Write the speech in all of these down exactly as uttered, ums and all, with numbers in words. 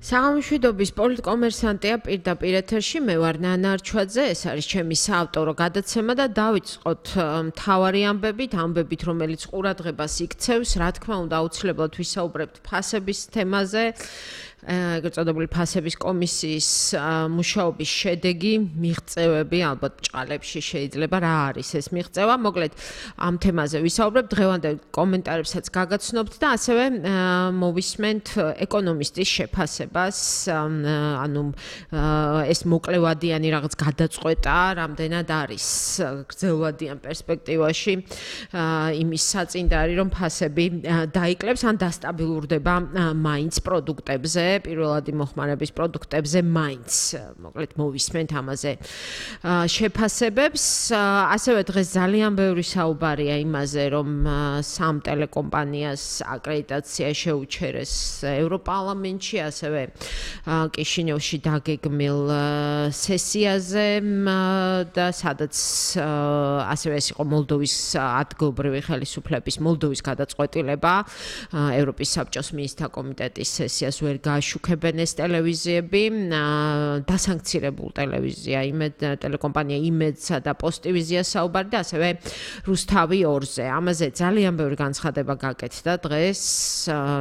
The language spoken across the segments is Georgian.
საღამოშვიდობის პოლიტკომერსანტია პირდაპირ ეთერში, მე ვარ ნანა არჩვაძე, ეს არის ჩემი საავტორო გადაცემა და დავიწყოთ მთავარი ამბებით, ამბებით, რომელიც ყურადღებას იქცევს, რა თქმა უნდა, აუცილებლად ვისაუბრებთ ფასების თემაზე. ეგრეთ წოდებული ფასების კომისიის მუშაობის შედეგი, მიღწევები, ალბათ ჭყალებში შეიძლება რა არის ეს მიღწევა. მოკლედ ამ თემაზე ვისაუბრებ, დღევანდელ კომენტარებსაც გაგაცნობთ და ასევე მოვისმენთ ეკონომისტის შეფასებას, ანუ ეს მოკლევადიანი რაღაც გადაწყვეტა, რამდენად არის გრძელვადიან პერსპექტივაში იმის საწინდარი, რომ ფასები დაიკლებს ან დასტაბილურდება მაინც პროდუქტებზე. პირველადი მოხმარების პროდუქტებზე მაინც მოკლედ მოვისმენთ ამაზე შეფასებებს. ასევე დღეს ძალიან ბევრი საუბარია იმაზე, რომ სამ ტელეკომპანიას აკრედიტაცია შეუჩერეს ევროპარლამენტში, ასევე კიშინევში დაგეგმილ სესიაზე და სადაც ასევე ეს იყო მოლდოვის ადგილობრივი ხელისუფლების მოლდოვის გადაწყვეტილება ევროპის საბჭოს მინისტრთა კომიტეტის სესიას ვერ გაშუქებენ ეს ტელევიზიები, დასანქცირებულ ტელევიზია, იმედ ტელეკომპანია იმედსა და პოსტივიზია საუბარი და ასევე რუსთავი ორზე. ამაზე ძალიან ბევრი განცხადება გაკეთდა დღეს,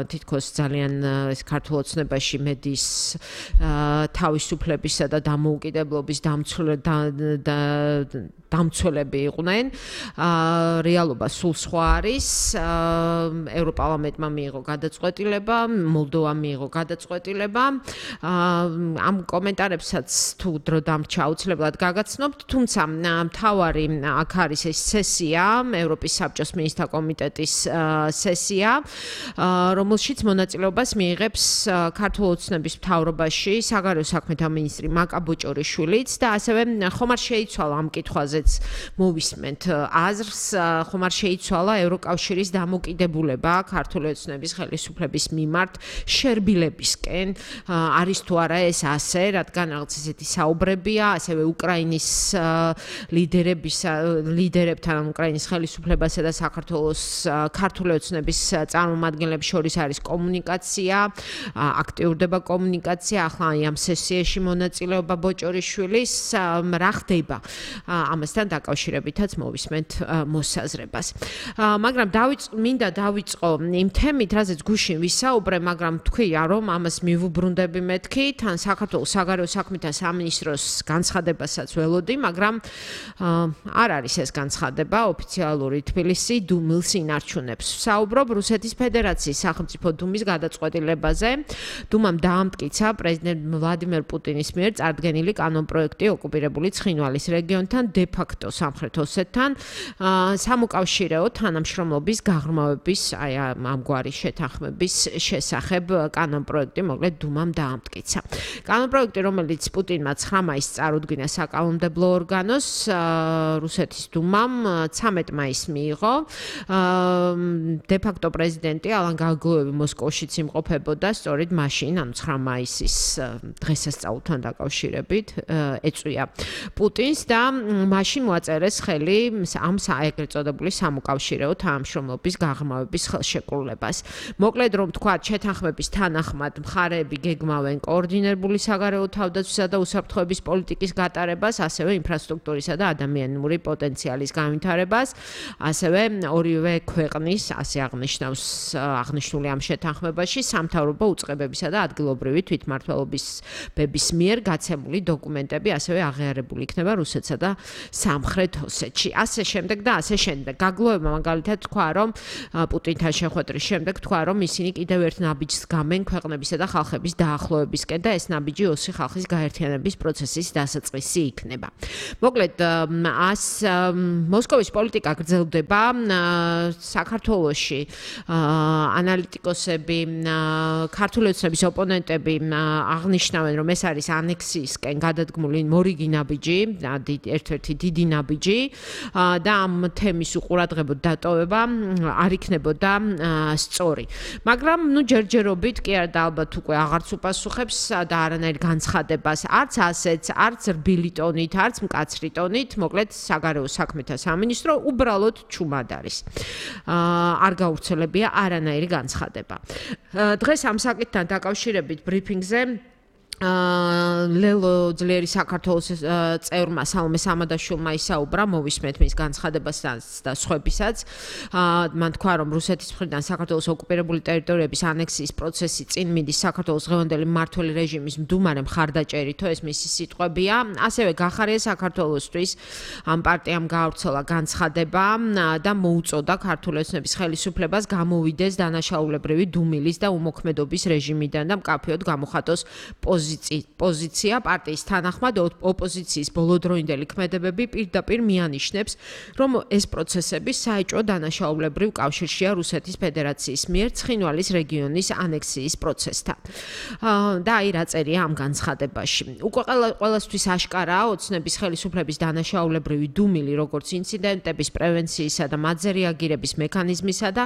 თითქოს ძალიან ეს ქართულ ოცნებაში მედიის თავისუფლებისა და დამოუკიდებლობის დამცველები იყვნენ. რეალობა სულ სხვა არის. ევროპარლამენტმა მიიღო გადაწყვეტილება, მოლდოვამ მიიღო გადაწყვეტილება. ამ კომენტარებსაც თუ დრო დამრჩა აუცილებლად გაგაცნობთ, თუმცა მთავარი აქ არის ეს სესია, ევროპის საბჭოს მინისტრთა კომიტეტის სესია, რომელშიც მონაწილეობას მიიღებს ქართულ ოცნების მთავრობაში საგარეო საქმეთა მინისტრი მაკა ბოჭორიშვილიც და ასევე ხომ არ შეიცვალა ამ კითხვაზეც მოვისმენთ აზრს, ხომ არ შეიცვალა ევროკავშირის დამოკიდებულება ქართული ოცნების ხელისუფლების მიმართ შერბილებისკენ, არის თუ არა ეს ასე, რადგან რაღაც ესეთი საუბრებია, ასევე უკრაინის ლიდერებისა, ლიდერებთან, უკრაინის ხელისუფლებასა და საქართველოს ქართული ოცნების წარმომადგენლებს შორის არის კომუნიკაცია, აქტიურდება კომუნიკაცია, ახლა ამ სესიაში მონაწილეობა ბოჭორიშვილის, რა ხდება ამასთან დაკავშირებითაც მოვისმენთ მოსაზრებას. მაგრამ მინდა დავიწყო იმ თემით, რაზეც გუშინ ვისაუბრე, მაგრამ თქვია, რომ ამას მივუბრუნდები მეთქი, თან საქართველოს საგარეო საქმეთა სამინისტროს განცხადებასაც ველოდი, მაგრამ არ არის ეს განცხადება ოფიციალური თბილისი დუმილს ინარჩუნებს. ვსაუბრობ რუსეთის ფედერაციის სახელმწიფო დუმის გადაწყვეტილებაზე. დუმამ დაამტკიცა პრეზიდენტ ვლადიმერ პუტინის მიერ წარდგენილი კანონპროექტი ოკუპირებული ცხინვალის რეგიონთან დე ფაქტო სამხრეთ ოსეთთან სამოკავშირეო თანამშრომლობის გაღრმავების, აი ამგვარი შეთანხმების შესახებ კანონპროექტი მოკლედ დუმამ დაამტკიცა. კანონპროექტი, რომელიც პუტინმა ცხრა მაისს წარუდგინა საკანონმდებლო ორგანოს, რუსეთის დუმამ ცამეტ მაისს მიიღო. დე ფაქტო პრეზიდენტი ალან გაგოევი მოსკოვშიც იმყოფებოდა, სწორედ მაშინ, ანუ ცხრა მაისის დღესასწაულთან დაკავშირებით ეწვია პუტინს და მაშინ მოაწერეს ხელი ამ ეგრეთ წოდებული სამოკავშირეო თანამშრომლობის გაღრმავების ხელშეკრულებას. მოკლედ რომ თქვათ, შეთანხმების თანახმად მხარეები გეგმავენ კოორდინირებული საგარეო თავდაცვისა და უსაფრთხოების პოლიტიკის გატარებას, ასევე ინფრასტრუქტურისა და ადამიანური პოტენციალის განვითარებას, ასევე ორივე ქვეყნის, ასე აღნიშნავს აღნიშნული ამ შეთანხმებაში, სამთავრობო უწყებებისა და ადგილობრივი თვითმმართველობების მიერ გაცემული დოკუმენტები ასევე აღიარებული იქნება რუსეთსა და სამხრეთ ოსეთში. ასე შემდეგ და ასე შემდეგ. გაგლოევმა მაგალითად თქვა, რომ პუტინთან შეხვედრის შემდეგ თქვა, რომ ისინი კიდევ ერთ ნაბიჯს გამენ ქვეყნებისა და ხალხების დაახლოებისკენ და ეს ნაბიჯი ოსი ხალხის გაერთიანების პროცესის დასაწყისი იქნება. მოკლედ, ას მოსკოვის პოლიტიკა გრძელდება საქართველოში ანალიტიკოსები, ქართული ოცნების ოპონენტები აღნიშნავენ, რომ ეს არის ანექსიისკენ გადადგმული მორიგი ნაბიჯი, ერთ-ერთი დიდი ნაბიჯი და ამ თემის უყურადღებოდ დატოვება არ იქნებოდა სწორი. მაგრამ ნუ ჯერჯერობით კი არა და ალბათ უკვე აღარც უპასუხებს და არანაირ განცხადებას, არც ასეც, არც რბილი ტონით, არც მკაცრი ტონით, მოკლედ საგარეო საქმეთა სამინისტრო უბრალოდ ჩუმად არის. არ გავრცელებია არანაირი განცხადება. დღეს ამ საკითხთან დაკავშირებით დაკავშირებით ბრიფინგზე ლელო ძლიერი საქართველოს წევრმა სალომე სამადაშვილმა ისაუბრა, მოვისმენთ მის განცხადებასაც და სხვებისაც. მან თქვა, რომ რუსეთის მხრიდან საქართველოს ოკუპირებული ტერიტორიების ანექსიის პროცესი წინ მიდის საქართველოს დღევანდელი მმართველი რეჟიმის მდუმარე მხარდაჭერითო, ეს მისი სიტყვებია. ასევე გახარია საქართველოსთვის ამ პარტიამ გაავრცელა განცხადება და მოუწოდა ქართული ოცნების ხელისუფლებას გამოვიდეს დანაშაულებრივი დუმილის და უმოქმედობის რეჟიმიდან და მკაფიოდ გამოხატოს პოზიცია პარტიის თანახმად ოპოზიციის ბოლოდროინდელი ქმედებები პირდაპირ მიანიშნებს, რომ ეს პროცესები საეჭვო დანაშაულებრივ კავშირშია რუსეთის ფედერაციის მიერ ცხინვალის რეგიონის ანექსიის პროცესთან. და აი რა წერია ამ განცხადებაში. უკვე ყველასთვის აშკარაა ოცნების ხელისუფლების დანაშაულებრივი დუმილი, როგორც ინციდენტების პრევენციისა და მათზე რეაგირების მექანიზმისა და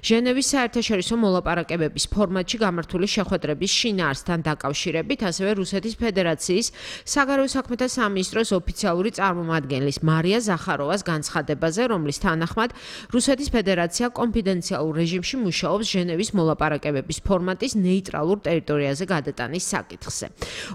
ჟენევის საერთაშორისო მოლაპარაკებების ფორმატში გამართული შეხვედრების შინაარსთან დაკავშირებით, ასევე რუსეთის ფედერაციის საგარეო საქმეთა სამინისტროს ოფიციალური წარმომადგენლის მარია ზახაროვას განცხადებაზე, რომლის თანახმად რუსეთის ფედერაცია კონფიდენციალურ რეჟიმში მუშაობს ჟენევის მოლაპარაკებების ფორმატის ნეიტრალურ ტერიტორიაზე გადატანის საკითხზე.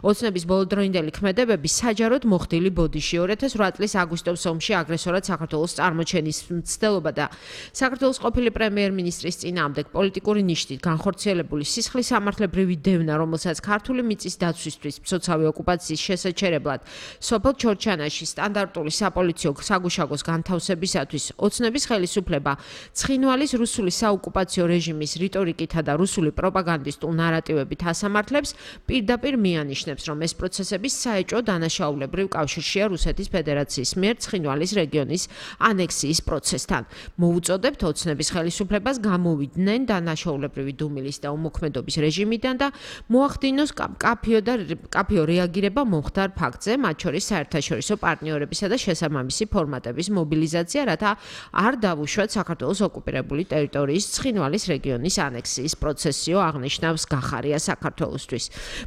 ოცნების ბოლოდროინდელი ქმედებები საჯაროდ მოხდილი ბოდიში ორი ათას ორი წლის აგვისტოს ომში აგრესორად საქართველოს წარმოჩენის მცდელობა და საქართველოს ყოფილი პრემიერ-მინისტრის წინააღმდეგ პოლიტიკური ნიშნით განხორციელებული სისხლის სამართლებრივი დევნა, რომელსაც ქართული მიწის დაცვისთვის მცოცავი ოკუპაციის შესაჩერებლად სოფელ ჩორჩანაში სტანდარტული საპოლიციო საგუშაგოს განთავსებისათვის ოცნების ხელისუფლება ცხინვალის რუსული საოკუპაციო რეჟიმის რიტორიკითა და რუსული პროპაგანდისტულ ნარატივებით ასამართლებს, პირდაპირ მიანიშნებს, რომ ეს პროცესები საეჭვო დანაშაულებრივ კავშირშია რუსეთის ფედერაციის მიერ ცხინვალის რეგიონის ანექსიის პროცესთან. მოუწოდებთ ოცნების ხელისუფლებას გამოვიდნენ დანაშაულებრივი დუმილის და უმოქმედობის რეჟიმიდან და მოახდინოს კაფიო და კაფიო რეაგირება მომხდარ ფაქტზე, მათ შორის საერთაშორისო პარტნიორებისა და შესაბამისი ფორმატების მობილიზაცია, რათა არ დავუშვათ საქართველოს ოკუპირებული ტერიტორიის ცხინვალის რეგიონის ანექსიის პროცესიო, აღნიშნავს გახარია საქართველოსთვის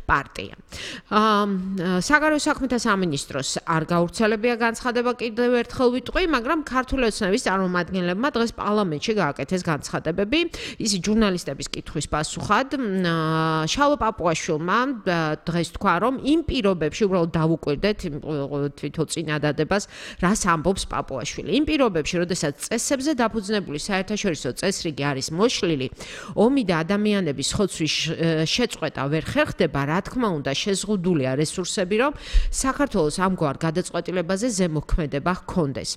პარტია. საგარეო საქმეთა სამინისტროს არ გავრცელებია განცხადება, კიდევ ერთხელ ვიტყვი, მაგრამ ქართული ოცნების წარმომადგენლებმა დღეს პარლამენტში გააკეთეს განცხადებები. ისი ჟურნალისტების კითხვის პასუხად შალო პაპუაშვილმა დღეს თქვა, რომ იმ პირობებში უბრალოდ დავუკვირდეთ თვითონ წინადადებას, რას ამბობს პაპუაშვილი. იმ პირობებში, როდესაც წესებზე დაფუძნებული საერთაშორისო წესრიგი არის მოშლილი, ომი და ადამიანების ხოცვის შეწყვეტა ვერ ხერხდება, რა თქმა უნდა, შეზღუდულია რესურსები, რომ საქართველოს ამგვარ გადაწყვეტილებაზე ზემოქმედება ჰქონდეს.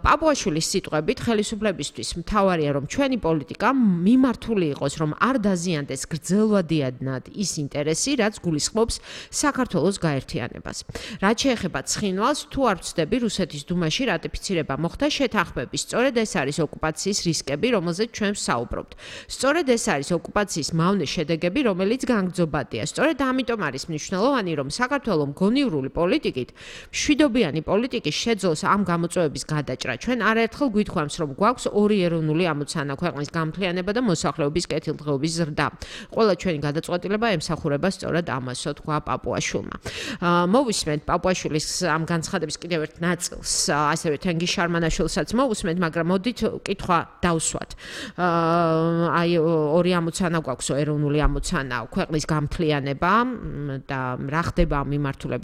პაპუაშვილის სიტყვებით, ხელისუფლებისთვის მთავარია, რომ ჩვენი პოლიტიკა მიმართული იყოს, რომ არ დაზიანდეს გრძელვადიანად ის ინტერესი, რაც გულისხმობს საქართველოს გაერთიანებას. რაც შეეხება ცხინვალს, თუ არ ვცდები, რუსეთის დუმაში რატიფიცირება მოხდა შეთანხმების. სწორედ ეს არის ოკუპაციის რისკები, რომელზეც ჩვენ ვსაუბრობთ. სწორედ ეს არის ოკუპაციის მავნე შედეგები, რომელიც განგრძობადია. სწორედ ამიტომ არის მნიშვნელოვანი, რომ საქართველოს მგონივრული პოლიტიკით, მშვიდობიანი პოლიტიკის შეძლოს ამ გამოწვევების გადაჭრა. ჩვენ არაერთხელ გვითხოვს, რომ გვაქვს ორი ეროვნული ამოცანა, ქვეყნის გამთლიანება და მოსახლეობის კეთილდღეობის ზრდა. ყველა ჩვენი გადაწყვეტილება ემსახურება სწორად ამასო, თქვა პაპუაშვილმა. მოვისმენთ პაპუაშვილის ამ განცხადების კიდევ ერთ ნაწილს, ასევე თენგიზ შარმანაშვილსაც მოვისმენთ, მაგრამ მოდით კითხვა დავსვათ. აი ორი ამოცანა გვაქვს, ეროვნული ამოცანა, ქვეყნის გამთლიანება და რა ხდება ამ მიმართულებით